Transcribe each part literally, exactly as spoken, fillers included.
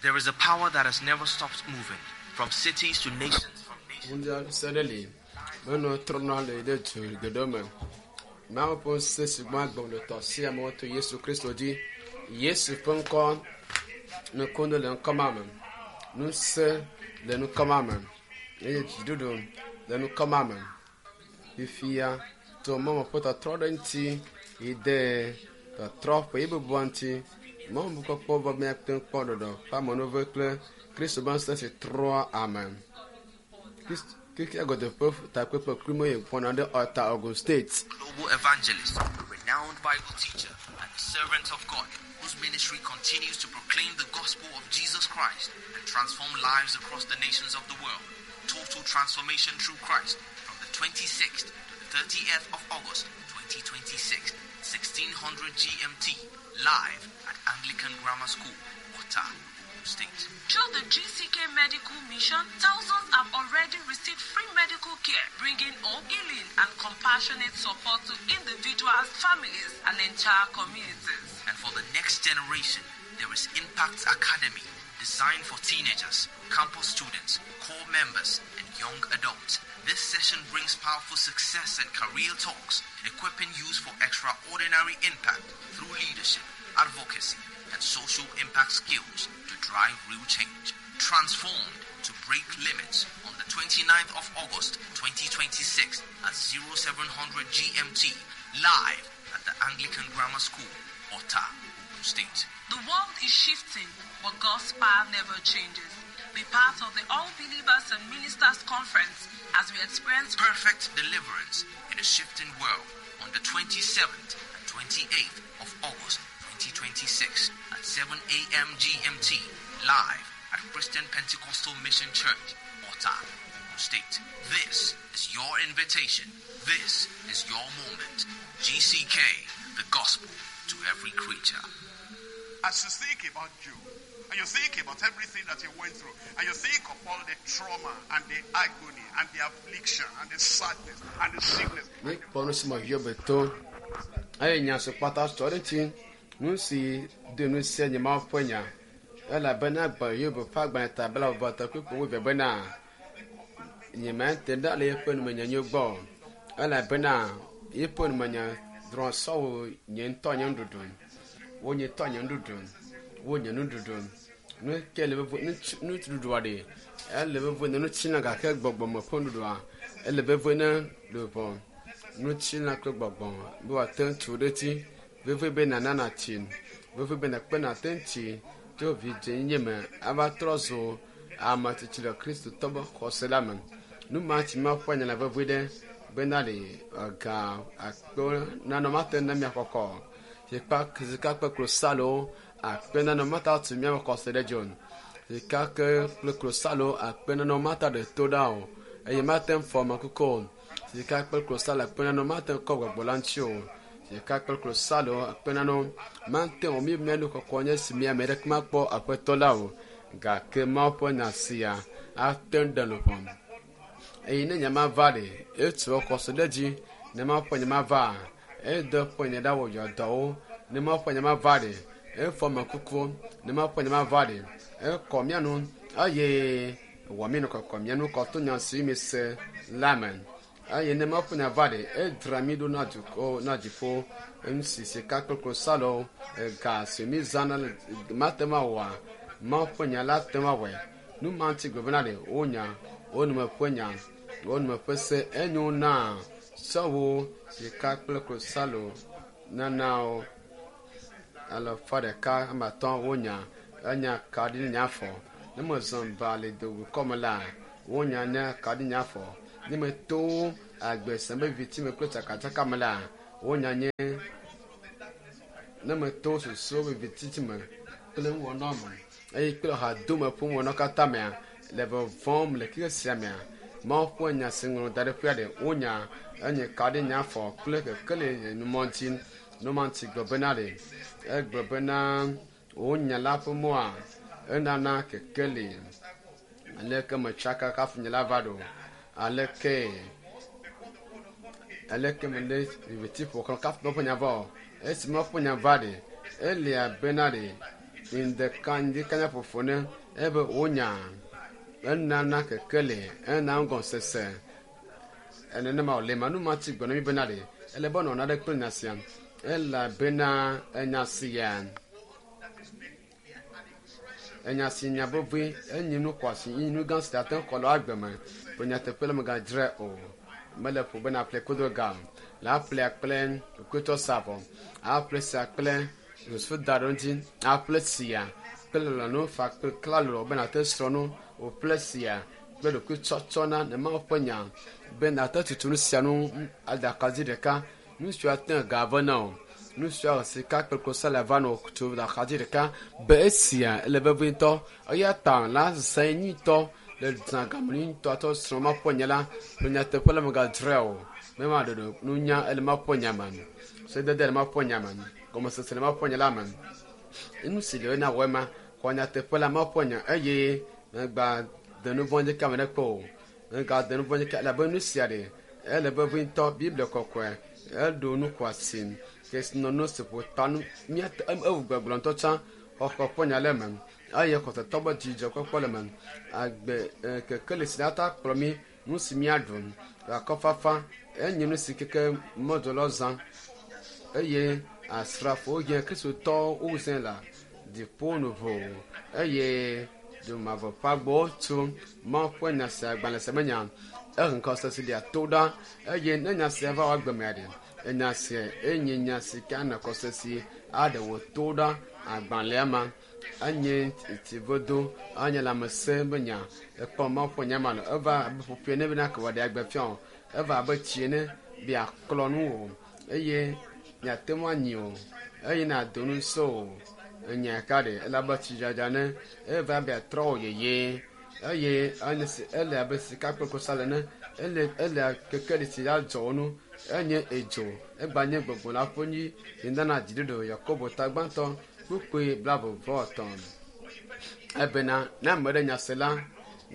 There is a power that has never stopped moving, from cities to nations, from nations. Ŋusẽ ɖe li menɔ trɔna le ɖe du geɖewo me. Mawu ƒe ŋusẽ si gbɔ agbe le tɔ sia amewo to Yesu Kristo dzi. Yesu ƒe ŋkɔ nukunu le ŋkɔ ma me. Ŋusẽ le ŋkɔ ma me eye dziɖuɖu le ŋkɔ ma me. Fifia to mɔmɔ ƒe tɔtrɔ ɖe ŋuti yi de tɔtrɔ ƒe yi bubua ŋuti. Mɔmɔ kpɔkpɔ be míate ŋu kpɔ ɖɔɖɔ ƒe amenuve kple Kristo ƒe ŋusẽ si trɔa ame. Krist- Xexea godoo ƒe takpekpe kpli yi ƒona ɖe Ota Ogun State. Global evangelist, renowned Bible teacher, and the servant of God, whose ministry continues to proclaim the gospel of Jesus Christ and transform lives across the nations of the world. Total transformation through Christ from the twenty-sixth to the thirtieth of August twenty twenty-six, sixteen hundred G M T, live at Anglican Grammar School, Ota, Ogun State. Through the G C K Medical Mission, thousands have already received free medical care, bringing hope, healing, and compassionate support to individuals, families, and entire communities. And for the next generation, there is Impact Academy, designed for teenagers, campus students, corps members, and young adults. This session brings powerful success and career talks, equipping youth for extraordinary impact through leadership, advocacy, and social impact skills to drive real change. Transformed to break limits on the 29th of August twenty twenty-six at oh seven hundred G M T, live at the Anglican Grammar School, Ota, Ogun State. The world is shifting, but God's power never changes. Be part of the All Believers and Ministers Conference as we experience perfect deliverance in a shifting world on the twenty-seventh and twenty-eighth of August twenty twenty-six at seven a m. G M T, live at Christian Pentecostal Mission Church, Ota, Ogun State. This is your invitation. This is your moment. G C K, the gospel to every creature. As you think about Job, and you think about everything that he went through, and you think of all the trauma and the agony and the affliction and the sadness and the sickness, Míekpɔ nu si me Hiob to eye nya si kpata tsɔ ɖe ŋuti nu si do nu sia nye Mawu ƒe nya elabena gbe Hiob ƒe agbalẽ ta bla vɔ tɔ kpukpu wuieve bena nyemate ɖa le yeƒe numenyanyo gbɔ o elabena yeƒe numenya drɔ̃ sɔwo nye ŋutɔ nye nuɖuɖu wo nye tɔ nye nuɖuɖu wo nye nuɖuɖu nu ke le vevie nuɖuɖua ɖe ele vevie ne nutsina gake gbɔgbɔme ƒe nuɖuɖua ele vevie ne luʋɔ nutsina kple gbɔgbɔ be wòate ŋu tu ɖe edzi vevie be nana natsi vevie be nakpe nate ŋu tsi tso vidzenyenye me ava trɔ zu ame tsitsi le kristotɔ ƒe xɔse la me nu ma tsi ma ƒe nya le vevie ɖe bena le ega akpe nanɔ mate na mia kɔkɔ sika sika kple klosalo akpe nanɔ mata tu miaƒe xɔse ɖe dzi o sika ke kple klosalo akpe nanɔ mata ɖe to ɖa o eye mate ŋu fɔ ame kuku o sika kple klosalo akpe nanɔ mate ŋu kɔ gbɔgbɔ la ŋuti o sika kple klosalo akpe nanɔ mate ŋu mi mia nu kɔkɔ nye si mia ame ɖeke makpɔ aƒetɔ la o gake Mawu ƒe nya sia ate ŋu ɖe luʋɔ eye ne nya ma va ɖe etu xɔse ɖe dzi ne Mawu ƒe nya ma va edo ƒe nya ɖa wɔ yɔdɔwo ne Mawu ƒe nya ma va ɖe efɔ ame kuku ne Mawu ƒe nya ma va ɖe ekɔ mía nu eye wɔ mí nu kɔkɔ mía nu kɔ to nya si mi se la me eye ne Mawu ƒe nya va ɖe edra mí ɖo na dukɔ na dziƒo nu si sika kple klosalo ega si mi zãna le mate ŋu awɔa Mawu ƒe nya la te ŋu awɔe nu ma ŋuti gblɔ bena ɖe wonya wo nume ƒe nya wo nume ƒe se enyo na sɔwo sika kple klosalo nanawo alafa ɖeka ame atɔ̃ wonya enya kaɖi nye afɔ ne mezɔ ba le dowukɔ me la wonya nye kaɖi nye afɔ ne meto agbe sem be viti me kple tsakatsaka me la wonya nye ne meto susuwo be vititi me kple nuwɔna me eye kple hadome ƒe nuwɔna katã mea le vɔvɔm le xexe sia mea Mawu ƒe nya si ŋlɔ da ɖe ƒea ɖe wonya enye kaɖi nye afɔ kple kekeli le numɔ ŋuti numa ŋuti gblɔ bena ɖe egblɔ bena wonya la ƒe mɔa enana kekeli aleke metsaka kafu nye la va ɖo aleke aleke mele viviti ƒo xlã kafu ƒe nya va o esi Mawu ƒe nya va ɖe elia bena ɖe Ŋdeka ŋdikanya ƒoƒo ne ebe wonya enana kekeli ena ŋgɔsese enenema wòle ma nu ma tsi gbe na mi bena ɖe ele be nɔna ɖe kple nya sia elabena enya sia enya si nya vevie enyi nu xɔasi enyi nu gã si ate ŋu xɔ le agbe me ƒe nyateƒe le megadzrae o mele ƒo bena aƒle kodo ga o le aƒlea kple ɖokuitɔ sa vɔ aƒle sia kple susu da ɖe ŋuti aƒle sia kple lɔlɔ̃nu fa kple klalo be nate srɔ̃ nu wòƒle sia kple ɖokuitsɔtsɔ na ne Mawu ƒe nya be nate tutu nu sia nu adakadzi ɖeka nu siwo ate ŋu ga ve na o nu siwo sika kple klosalo va nɔ tu axadzi ɖeka be esia ele vevie ŋutɔ eya ta la zã nyuitɔ le zã game nyuitɔ atɔ srɔ̃ ma ƒe nya la ƒe nyateƒe la megadzrae o be ma ɖeɖe nunya ele ma ƒe nya me sedede le ma ƒe nya me gɔmesese le ma ƒe nya la me nu si le na wɔ ema xɔ nyateƒe la ma ƒe nya eye megba de nu vɔ̃ dzi kame ɖe kpe o mega de nu vɔ̃ dzi ke elabe nu sia ɖe ele vevie ŋutɔ Biblia kɔkɔe eɖo nu xɔasi kesinɔnu si ƒo ta nu míate ewu gbɔgblɔ ŋutɔ tsã xɔxɔ ƒe nya le eme eye xɔsetɔ be dzidzɔkpɔkpɔ le eme agbe kekeli si ata kplɔ mí nu si míaɖu akɔfafa enye nu si keke mɔdzɔlawo zã eye asrafowo nye kristotɔwo wozãe le dziƒo nuvo eye dzomavɔ ƒe agbowo tu Mawu ƒe nya sia agbalẽ sia menya ehe ŋkɔsese lia to ɖa eye ne nya sia va wɔ agbemea ɖe enya sia enye nya si ke anɔ kɔsesi aɖe wò to ɖa agbalẽa ma enye tsivodo enye lãmesẽ be nya ekpɔ Mawu ƒe nya ma le eva abe ƒoƒoe ne bena ke wòaɖe agbe fia o eva abe tsi ene be aklɔ nu o eye miate ŋu anyi o eye nàdo nu so o enya ka ɖe ele abe tsidzadza ne eva be atrɔ wò yeye eye enye si ele abe sika kple klosalo ene ele ele kekeli si la dzɔ wo nu enye edzo egba nye gbɔgbɔ la ƒe nyi si nana dziɖuɖu Yakobo ta gbãtɔ kpukpui blaeve vɔ etɔ̃ ebena ne ame ɖe nya se la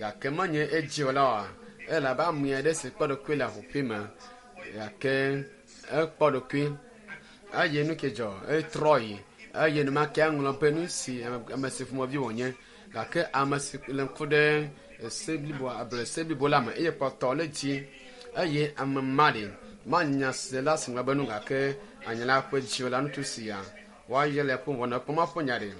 gake menye edzi o la oa ele abe ame aɖe si kpɔ ɖokui le aʋuƒui me gake ekpɔ ɖokui eye nu ke dzɔ etrɔ yi eye enumake eŋlɔ be nu si ame si ƒomevi wònye gake ame si le ŋku ɖe ese blibo ablɔ se blibo la me eye kpɔtɔ le dzi eye ame ma ɖe manya se la si ŋlɔ be nu gake anya la ƒe dzi la ŋutsu sia woayɔ le ƒe wɔna kpɔm aƒe nya ɖe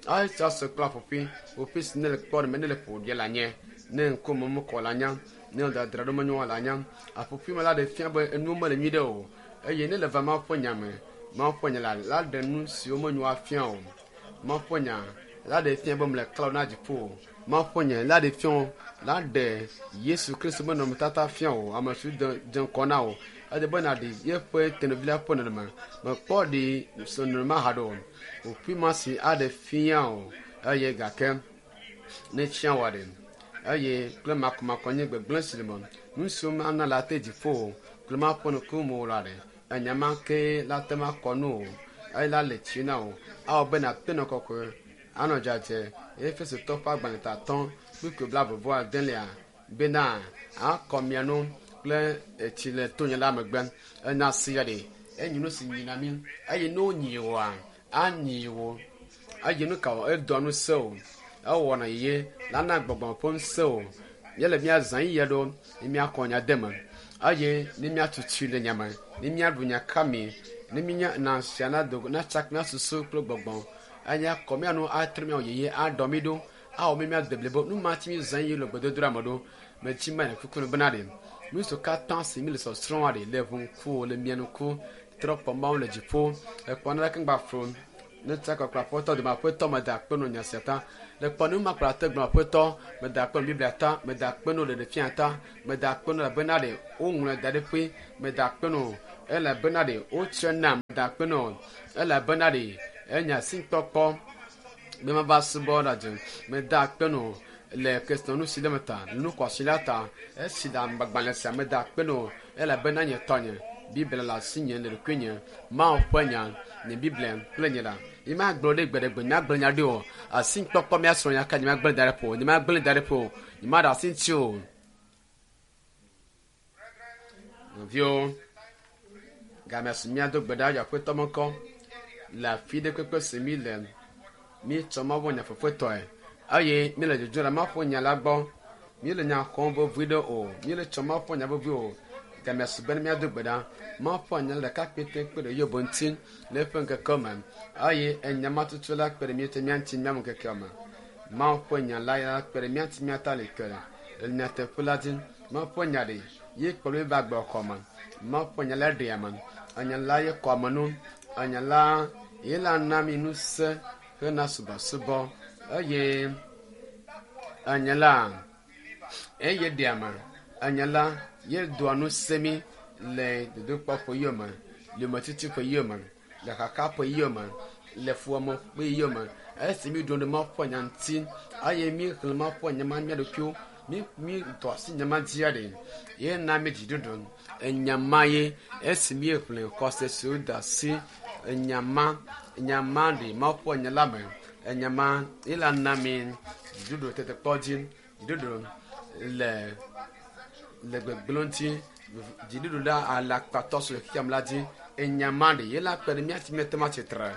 atsɔ se kple aƒoƒui ƒoƒui si ne le kpɔ ɖe ne le ƒo ɖi la nye ne ŋkume mekɔ la nya ne dadra ɖo menyo la nya aƒoƒui me la ɖe fia be enuwo mele nyui ɖe o eye ne le va Mawu ƒe nya me Mawu ƒe nya la la ɖe nu siwo menyo afia o Mawu ƒe nya la ɖe fia be mele klalo na dziƒo o Mawu ƒe nya la ɖe fia o la ɖe Yesu Kristo be nɔnɔmetata fia o ame si dze dze ŋkɔ na o ede be nàɖe yeƒe tenuvi la ƒe nɔnɔme mekpɔ ɖi nɔnɔme haɖe o ƒoƒui ma si aɖe fia o eye gake ne tsia wɔ ɖe eye kple makɔmakɔ nye gbegblẽ si le me nu siwo mana la te dziƒo o kple maƒe nuku mo la ɖe enya ma ke la te ma kɔ nu o eye la le tsi na o awɔ be nàte nɔ kɔkɔe anɔ dzadzɛ Efesotɔ ƒe agbalẽ tatɔ kpukpui blaeve vɔ adelia bena akɔ mia nu kple etsi le tonye la megbe enya sia ɖe enyi nu si nyina mí eye ne wonyi woa anyi wo eye nu ka wɔ edɔ nu se o ewɔna yeye lana gbɔgbɔ ƒe ŋusẽ o míele míazã yiyia ɖo ne míakɔ nya de me eye ne míatutui le nya me ne míaɖu nya kami ne mínya na sia na do natsa mía susu kple gbɔgbɔ eye akɔ mía nu atre míawɔ yeye aɖɔ mí ɖo awɔ mí míade blibo nu ma ti mí zã yi le gbedodoɖa me ɖo metsi me le kuku bena ɖe nu siwo katã si mí le sɔsrɔ̃m ɖe le ʋu ŋku le mia ŋku trɔ kpɔ Mawu le dziƒo ekpɔ naneke ŋgba flo ne tsa kɔkɔ aƒetɔ dome aƒetɔ meda akpe no nya sia ta le kpɔ nu ma kplɔ ate gblɔ aƒetɔ meda akpe no Biblia ta meda akpe no ɖeɖefia ta meda akpe no elabena ɖe woŋlɔe da ɖe ƒe meda akpe no elabena ɖe wotsɔe nam meda akpe no elabena ɖe enya si kpɔkpɔ be mava subɔ ɖe dzi meda akpe no le kesinɔnu si le me ta nu xɔasi la ta esi le agbalẽ sia meda akpe no elabena nye tɔnye Biblia le asinye le ɖokuinye Mawu ƒe nya nye Biblia kple nye la yi ma gblɔ ɖe gbeɖegbe nye agblẽ nya ɖi o asi kpɔkpɔ mía srɔ̃ nya ka nye ma gblẽ da ɖe ƒo nye ma gblẽ da ɖe ƒo nye ma ɖe asi ŋuti o nɔviwo game si míado gbe ɖa aƒetɔ me ŋkɔ le afi ɖe kpekpe si mí le Mi tsɔ Mawu ƒe nya fefetɔe eye mi le dzodzom le Mawu ƒe nya la gbɔ. Mi le nya xɔm vevi ɖe o. Mi le tsɔ Mawu ƒe nya vevi o. Gamea su be ne míado gbe ɖa. Mawu ƒe nya la ɖeka kpete kpe ɖe Hiob ŋuti le eƒe ŋkeke me eye enya ma tutu la kpe ɖe mía ŋuti mía ŋuti míame ŋkekea me. Mawu ƒe nya la ya kpe ɖe mía ŋuti míata li ke le nyateƒe la dzi. Mawu ƒe nya ɖe ye kplɔ mí va agbe xɔ me. Mawu ƒe nya la ɖea ame. Enya la ye kɔ ame nu. Enya la ye la na mi ŋusẽ hena subɔsubɔ eye enya la eye ɖea ame. Enya la ye doa ŋusẽ mí le dodokpɔ ƒe yome, le yometiti ƒe yome, le xaxa ƒe yome, le fuwɔame ƒe yome. Esi mi ɖo ɖe Mawu ƒe nya ŋuti eye mi xlẽ Mawu ƒe nya ma mía ɖokuiwo, mi mi dɔ asi nya ma dzia ɖe, ye na mi dziɖuɖu. Enya ma ye esi mi xlẽ xɔse si woda asi enya ma enya ma ɖe Mawu ƒe nya la me. Enya ma ye la na mi dziɖuɖu tetekpɔ dzi, dziɖuɖu le le gbegblẽ ŋuti, dziɖuɖu la alakpatɔ si le xexea me la dzi. Enya ma ɖe ye la kpe ɖe mía ŋuti míate ŋu atsi tre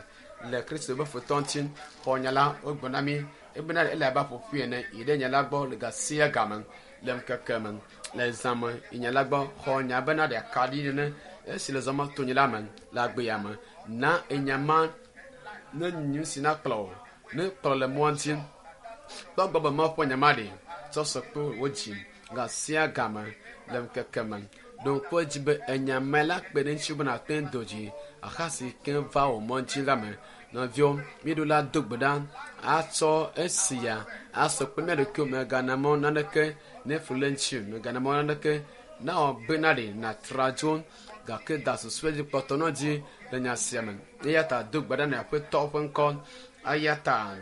le Kristo ƒe futɔ ŋuti. Xɔ nya la wogblɔ na mí ebena ele abe aƒoƒui ene yi ɖe nya la gbɔ le ga sia game le ŋkeke me le zã me yi nya la gbɔ xɔ nya bena ɖe akaɖi nene esi le zɔma to nyi la me le agbea me na enya ma ne nu si na kplɔ wò ne kplɔ le mɔa ŋuti kpɔ gbɔ be Mawu ƒe nya ma ɖe tsɔ sɔ kple wò dzi ga sia game le ŋkeke me. Ɖo ŋku edzi be enya ma la kpe ɖe ŋuti be nàte ŋu do dzi axa si ke va wò mɔ dzi la me. Nɔviwo, míeɖo la do gbe ɖa atsɔ esia asɔ kple mía ɖokuiwo mègana mɔ naneke ne flu le ŋuti o, mègana mɔ naneke na wɔ bena ɖe nàtra dzo gake da susu dzi kpɔtɔ nɔ dzi le nya sia me. Eya ta do gbe ɖa na Aƒetɔ ƒe ŋkɔ. Eya ta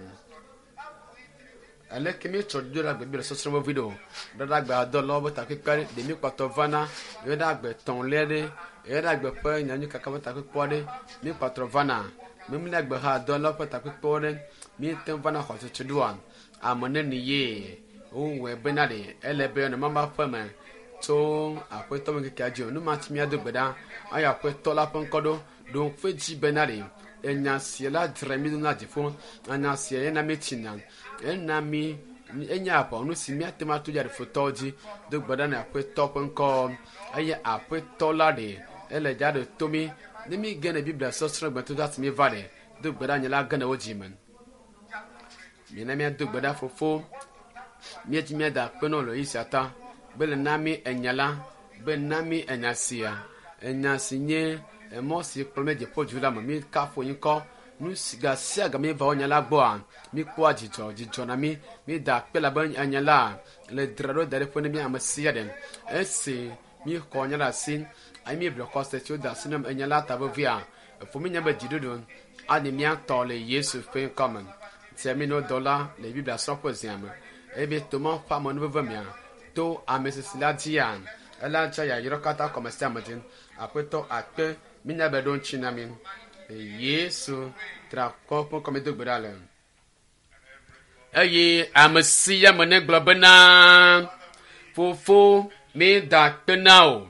aleke míetsɔ do ɖe agbe Biblia sɔsrɔ̃ vevi ɖo? Ɖe ɖe agbe adɔlawo ƒe takpekpe aɖe ɖe míekpɔtɔ vana ye ɖe agbe etɔ̃lia ɖe ye ɖe agbe ƒe nyanyui kaka ƒe takpekpe aɖe míekpɔtɔ vana. Mímli agbe hã dɔlawo ƒe takpekpewo ɖe míete ŋu vana xɔtutu ɖoa ame neni ye wowɔe bena ɖe ele be nɔ mama ƒe me tso Aƒetɔ ƒe ŋkekea dzi o. Nu ma ti míado gbe ɖa eye Aƒetɔ la ƒe ŋkɔ ɖo ɖo ŋku edzi bena ɖe enya sia la dzra mí ɖo na dziƒo. Enya sia ye na mí tsina. Ena mí enye aʋawɔnu si míate ŋu ato dzi aɖe futɔwo dzi. Do gbe ɖa na Aƒetɔ ƒe ŋkɔ eye Aƒetɔ la ɖe ele dza ɖe to mí. Ne mí ge ne Biblia sɔsrɔ̃ gbetɔ asi mí va ɖe do gbe ɖa nye la ge ne wo dzi me. Mina míado gbe ɖa fofo. Míedzi míada akpe na wò le ɣeyiɣi sia ta be le na mí enya la be na mí enya sia enya si nye emɔ si kplɔ mí dziƒo du la me. Mí kafu ŋkɔ nu si ga sia ga míeva wò nya la gbɔa míkpɔa dzidzɔ dzidzɔ na mí mída akpe labe enya la le dzra ɖo da ɖe ƒe ne mí ame sia ɖe esi míxɔ nya la asi eye míeble xɔse si woda asi na enya la ta vevia efo mínya be dziɖuɖu ani mía tɔ le Yesu ƒe ŋkɔ me. Tia mí no dɔla le Biblia srɔ̃ƒe zia me eye be to Mawu ƒe amenuveve mea to ame sisi la dzia ela tsɔ yayra katã kɔme sia ame dzi. Aƒetɔ akpe mínya be ɖo ŋuti na mí. Yesu tra kɔ ƒe ŋkɔ mi do gbe ɖa le. Eye ame sia ame ne gblɔ bena fofo mída akpe na wò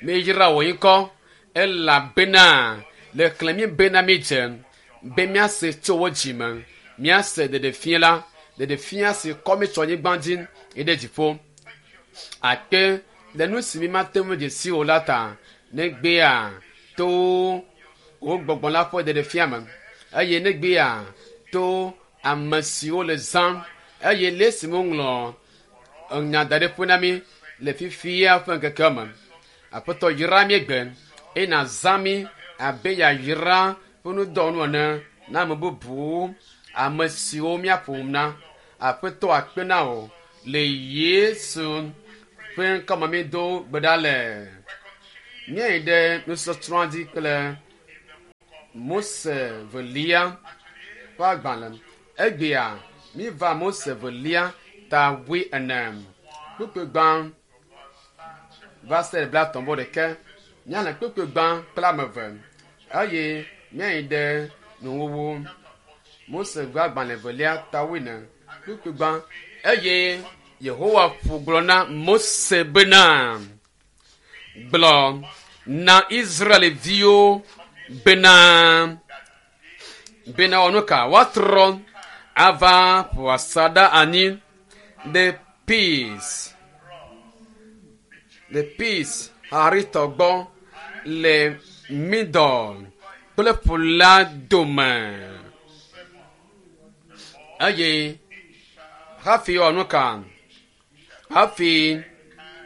míeyra wò ŋkɔ elabena le xlẽ mí bena mídze be míase tso wò dzi me míase ɖeɖefia la ɖeɖefia si kɔ mí tso anyigba dzi yi ɖe dziƒo. Akpe le nu si mímate ŋu dze si o la ta negbea to wò gbɔgbɔ la ƒe ɖeɖefia me eye negbea to ame siwo le zãm eye le esi woŋlɔ nya da ɖe ƒe na mí le fifia ƒe ŋkekea me. Aƒetɔ yra mí gbe eye nàzã mí abe yayra ƒe nudɔwɔnu ene na ame bubuwo ame siwo míaƒo na. Aƒetɔ akpe na wò le Yesu ƒe ŋkɔme mí do gbe ɖa le. Míayi ɖe nusɔsrɔ̃a dzi kple Mose velia ƒe agbalẽ. Egbea míva Mose velia ta wui ene kpukpui gbã va se ɖe blaetɔ̃ vɔ ɖeke. Míale kpukpui gbã kple ame eve eye míayi ɖe nuwuwu. Mose ƒe agbalẽ velia ta wui ene kpukpui gbã eye Yehowa ƒo gblɔ na Mose bena gblɔ na Israelviwo bena bena wɔnu ka woatrɔ Ava ƒo asaɖa anyi ɖe Peace, le Peace Haritɔ gbɔ le Midɔ kple ƒu la dome. Eye hafi wɔ nu ka? Hafi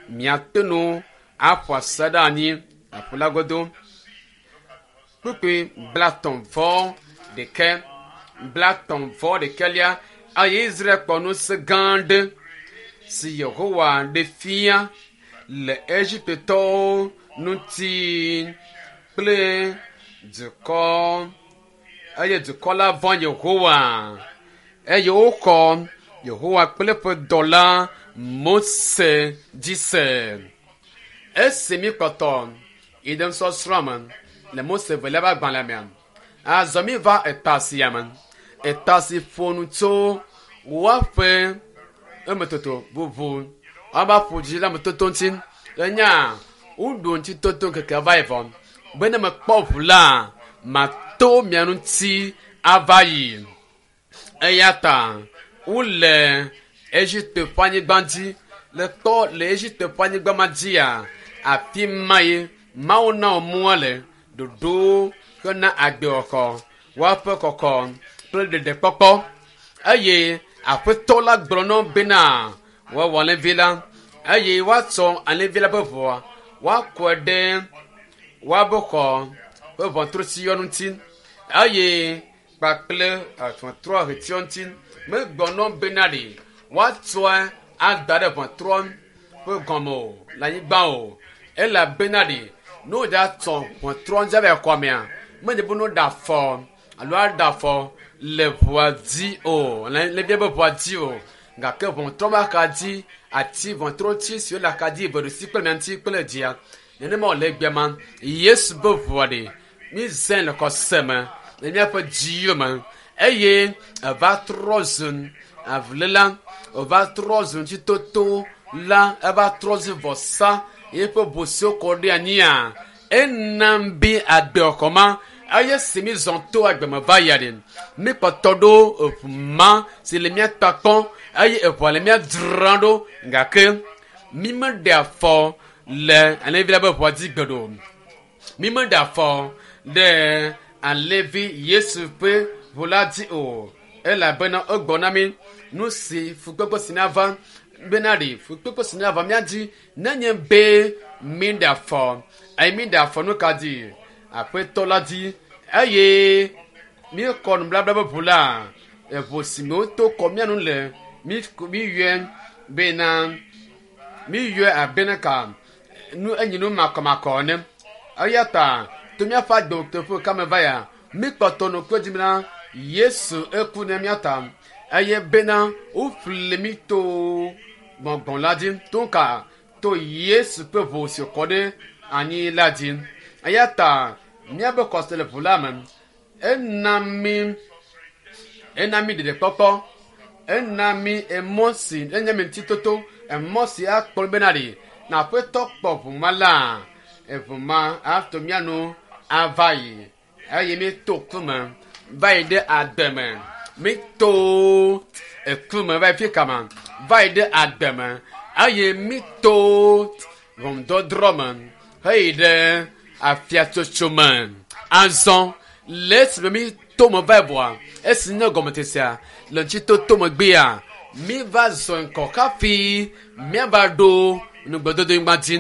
miate nu aƒo asaɖa anyi le ƒu la godo. Kpukpui blatɔ̃ vɔ ɖekɛ, blatɔ̃ vɔ ɖekɛlia eye Israel kpɔ ŋusẽ gã aɖe si Yehowa ɖe fia le Egiptetɔwo ŋuti kple dukɔ eye dukɔ la vɔ̃ Yehowa eye woxɔ Yehowa kple eƒe dɔla Mose dzi se. Esi mi kpɔtɔ yi ɖe nusɔsrɔ̃ me le Mose velia ƒe agbalẽ mea, azɔ mi va eta sia me. Eta si ƒo nu tso woaƒe emetoto bubu woava ƒo dzi le ametoto ŋuti. Enya woɖu ŋutitoto ŋkeke va yi vɔ be ne mekpɔ ʋu la, mato mia ŋuti ava yi. Eya ta wole Egipte ƒe anyigba dzi le kpɔ le Egipte ƒe anyigba ma dzia, afi ma ye Mawu na wo mɔa le ɖoɖo hena agbexɔxɔ, woaƒe kɔkɔ kple ɖeɖekpɔkpɔ. Eye aƒetɔ la gblɔ na wo bena woawɔ alẽvi la eye woatsɔ alẽvi la ƒe ʋua woakɔe ɖe woaƒe xɔ ƒe ʋɔtrutiyɔ ŋuti eye kpakple ʋɔtrua ʋetiɔ ŋuti. Megblɔ na wo bena ɖe woatsɔe ada ɖe ʋɔtrua ƒe gɔme o le anyigba o elabena ɖe ne wodza tsɔ ʋɔtrua ŋuti ava yi xɔa mea, menye be ne woɖe afɔ alo aɖe afɔ le ʋua dzi o, le bia be ʋua dzi o gake ʋɔtrua ƒe axadzi ati ʋɔtruti siwo le axadzi eve ɖusi kple mia ŋuti kple dzia nenema wòle egbea ma Yesu be ʋua ɖe mizãe le xɔse me le míaƒe dziwo me eye eva trɔ zu avuléla, eva trɔ zu ŋutitoto la, eva trɔ zu vɔsa eƒe ʋu siwo kɔ ɖe anyia ena be agbexɔxɔ ma eye si mi zɔn to agbeme va yia ɖe mi kpɔtɔ ɖo eʋu ma si le mía ta kpɔm eye eʋua le mía dzram ɖo gake mi meɖe afɔ le alẽvi la ƒe ʋua dzi gbe ɖo. Mi meɖe afɔ ɖe alẽvi Yesu ƒe ʋu la dzi o elabena egblɔ na mi nu si fukpekpe si nava bena ɖe fukpekpe si nava mía dzi nenye be mi ɖe afɔ eye mi ɖe afɔ nu ka dzi aƒetɔ la dzi eye míekɔ nubabla ƒe ʋu la eʋu si me woto kɔ mía nu le mi miyɔe bena miyɔe abena ka nu enyi nu makɔmakɔ ene eya ta to míaƒe agbeteƒe kame va ya míkpɔtɔ nɔ kpe dzi bena Yesu eku ne mía ta eye bena woƒle mí to gbɔgbɔ la dzi to ka to Yesu ƒe ʋu si kɔ ɖe anyi la dzi eya ta míaƒe xɔse le ʋu la me ena mí ena mí ɖeɖekpɔkpɔ ena mí emɔ si enye mi ŋutitoto emɔ si akplɔ bena ɖe na aƒetɔ kpɔ ʋu ma la eʋu ma ato mía nu ava yi eye mi to ku me va yi ɖe agbe me mi to eku me va yi fi kama va yi ɖe agbe me eye mi to ʋɔnudɔdrɔ̃ me heyi ɖe afiatsotso me azɔ le esime mi to me va yi vɔa esi nye gɔmetesia le ŋutitoto megbea mi va zɔ ŋkɔ hafi míava ɖo nugbedodo dzi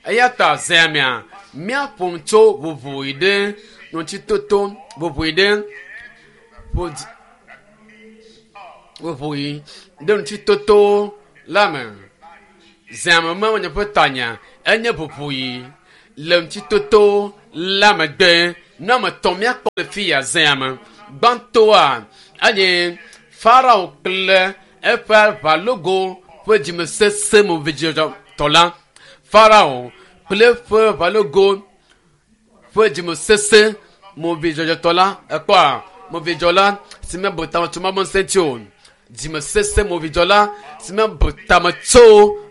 eya ta zea mea míaƒo nu tso ʋuʋu yi ɖe ŋutitoto ʋuʋu yi ɖe ƒodzi ʋuʋu yi ɖe ŋutitoto la me zea me me nye ƒe tanya enye ʋuʋu yi le ŋutitoto la megbe nu ame etɔ̃ míakpɔ le fi ya zea me gbãtɔa enye Farao kple eƒe aʋalogo ƒe dzimesesẽ movidzɔtɔ la Farao kple eƒe aʋalogo ƒe dzimesesẽ movidzɔdzɔtɔ la ekpɔa movidzɔla si mebu tame tso mawu ŋusẽ ŋuti o dzimesesẽ movidzɔla si mebu tame tso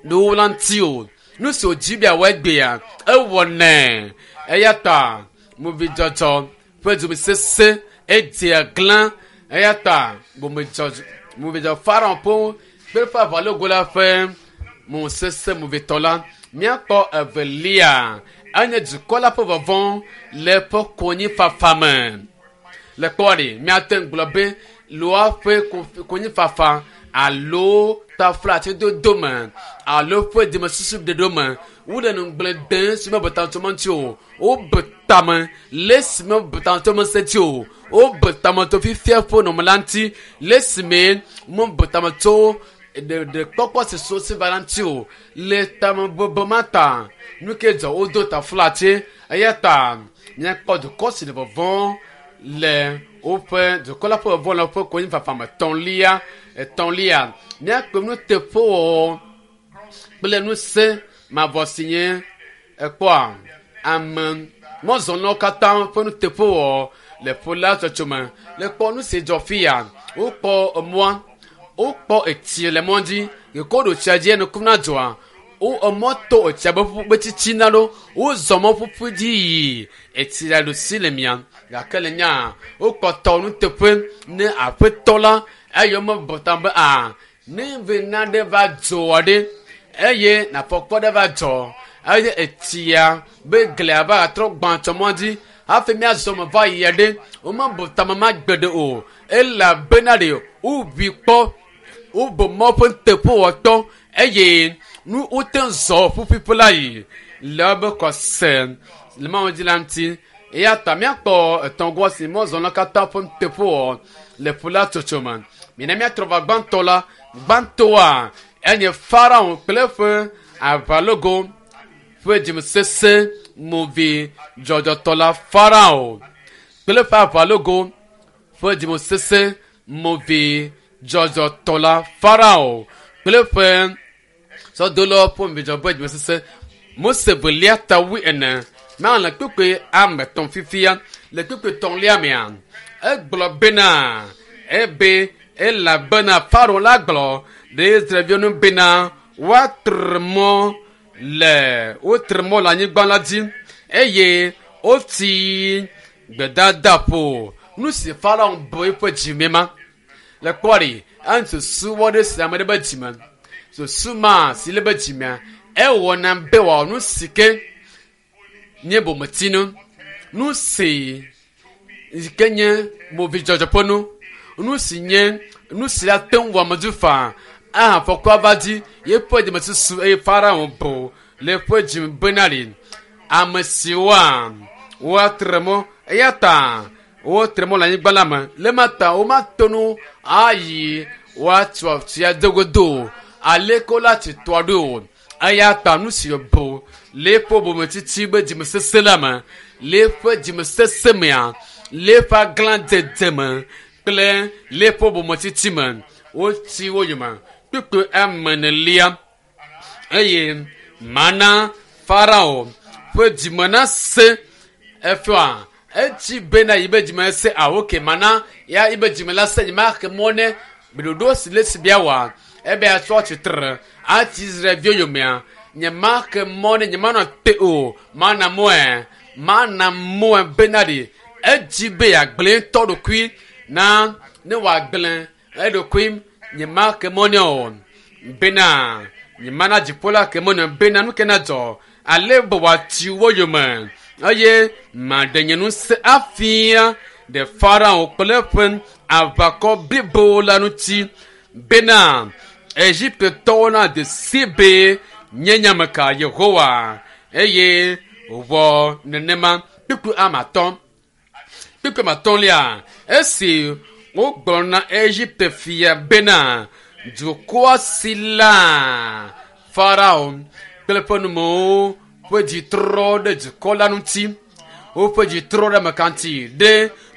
nuwo la ŋuti o nu si wòdzi be yeawɔ egbea ewɔnɛ eya ta movidzɔdzɔ ƒe dzimesesẽ edzea glã Eya ta bomedzɔ Farao ƒe kple eƒe aʋalogo la ƒe mo sese movitɔ la. Míakpɔ evelia enye dukɔ la ƒe vɔvɔ le eƒe konyifafa me. Le kpɔ ɖi míate ŋu gblɔ be loa ƒe konyifafa alo taflatsedodo me alo ƒe dzimesusu ɖeɖo me wole nugblẽ dem si me betaŋtɔme ŋuti o. Wobe tame le esi me betaŋtɔme se ŋuti o. Wobe tame tso fifia ƒe nɔnɔme la ŋuti le esime mebe tame tso ɖeɖekpɔkpɔ si so si va la ŋuti o. Le tamebebe ma ta nu ke dzɔ wodo taflatse eya ta míakpɔ dukɔ si le vɔvɔm le woƒe dukɔ la ƒe vɔvɔ le woƒe konyifafa me. Etɔ̃lia etɔ̃lia míakpɔ nuteƒewɔwɔ kple ŋusẽ mavɔ si nye ekpɔa ame mɔzɔlawo katã ƒe nuteƒewɔwɔ le ƒu la tsɔtsɔ me. Le kpɔ nu si dzɔ fia wokpɔ emɔa wokpɔ etsi le mɔ dzi gake woɖo tsia dzi enukum na dzoa wo emɔ to etsia be ƒu be tsitsina ɖo wozɔ mɔ ƒuƒu dzi yi etsi la ɖo si le mia gake le nya wokpɔtɔ nuteƒe ne aƒetɔ la eye womebɔ ta be a ne ve nane va dzɔa ɖe eye nafɔkpɔ ɖe va dzɔ eye etsia be glia va trɔ gbã tsɔ mɔ dzi hafi míazɔ me va yia ɖe womebɔ tame ma gbe ɖe o elabena ɖe woʋui kpɔ wobe mɔ ƒe nuteƒewɔtɔ eye nu wote zɔ ƒuƒuƒu la yi le wobe kɔse le mawu dzi la ŋuti. Eya ta míakpɔ etɔ̃gɔ si mɔzɔlawo katã ƒe nuteƒewɔ le ƒu la tsotso me. Mina míatrɔ va gbãtɔ la. Gbãtɔa enye Farao kple eƒe aʋalogo ƒe dzimesese movi dzɔdzɔtɔ la. Farao kple eƒe aʋalogo ƒe dzimesese movi dzɔdzɔtɔ la. Farao kple eƒe sɔdolawo ƒe movi dzɔdzɔ ƒe dzimesese. Mose velia ta wui ene ma le kpekpe ame etɔ̃ fifia le kpekpe tɔ̃lia mea egblɔ bena ebe elabena Farao la gblɔ ɖe Israelviwo ŋu bena woatre mɔ le wotre mɔ le anyigba la dzi eye wotsi gbedadaƒo. Nu si Farao bu eƒe dzime ma le kpɔ ɖi enu susu wɔ ɖe si ame ɖe be dzime susu ma si le be dzimea ewɔna be wòawɔ nu si ke nye bometsinu nu si yi ke nye movidzɔdzɔ ƒe nu nu si nye nu si ate ŋu wɔ ame dzi faa aha fɔkua va dzi yeƒe dzimesusu eye Farao bu le eƒe dzime bena ɖi ame siwoa woatre mɔ eya ta wotre mɔ le anyigba la me le ma ta womato nu ayi woatso tsia dogodo o aleke wola tsi toa ɖo o eya ta nu si bu le eƒe bometsitsi be dzimesese la me le eƒe dzimesese mea le eƒe aglãdzedze me kple le eƒe bometsitsi me wotsi wo yome kpukpui ame enelia eye mana Farao ƒe dzime nase efia etsi bena yi be dzime se awo ke mana ya yi be dzime la se nyema xe mɔ ne ɖoɖo si le si bia wɔa ebe atsɔ tsitre atsi Israelviwo yomea nyema xe mɔ ne nyema nɔ te o mana mɔe mana mɔe bena ɖi edzi be yeagblẽ ŋutɔ ɖokui na ne wòagblẽ eɖokui nyema xe mɔ nɛ o bena nyema na dziƒo la ke mɔ nɛ bena nu ke na dzɔ ale be wòatsi wo yome eye maɖe nye ŋusẽ afia ɖe Farao kple eƒe aʋakɔ blibo la ŋuti bena Egiptetɔwo nade si be nye nyameka Yehowa eye wòwɔ nenema. Kpukpui ame atɔ̃ kpukpui ame atɔ̃lia esi wogblɔ na Egipte fia bena dukɔa si la Farao kple eƒe numewo ƒe dzi trɔ ɖe dukɔ la ŋuti woƒe dzi trɔ ɖe ameka ŋuti ɖe